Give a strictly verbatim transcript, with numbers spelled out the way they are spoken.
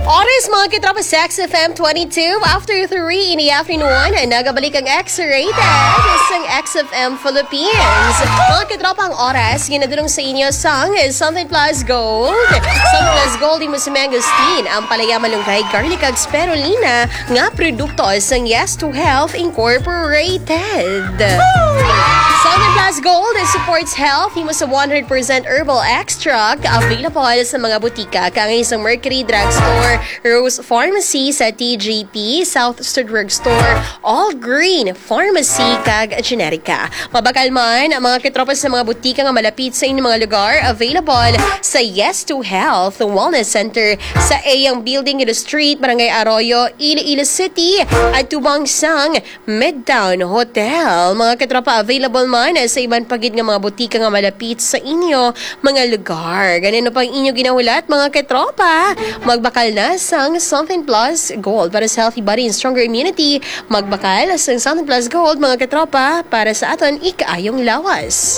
Oras, mga katropa, sa X F M twenty-two, after three in the afternoon, nagabalik ang X-Rated sa X F M Philippines. Mga katropa, ang oras, ginadulong sa inyo sang Something Plus Gold. Something Plus Gold, imo sa mangosteen, ampalaya, malunggay, garlic, kag spirulina nga produkto sang Yes to Health Incorporated. Something Plus Gold supports health, imo sa one hundred percent herbal extract, available sa mga butika, kangay sa Mercury Drugstore, Rose Pharmacy, sa T G P, South Star Drugstore, All Green Pharmacy, kag Generica. Mabakal man ang mga katropa sa mga butika nga malapit sa inyong mga lugar, available sa Yes to Health Wellness Center sa Eyang Building, Iloilo Street, Barangay Arroyo, Iloilo City, atubang sang Midtown Hotel. Mga katropa, available man sa iban pa gid nga mga butika nga malapit sa inyo mga lugar. Ganino pang inyo ginahulat, mga katropa? Magbakal na sang Something Plus Gold para sa healthy body and stronger immunity. Magbakal sang Something Plus Gold, mga katropa, para sa aton ikaayong lawas.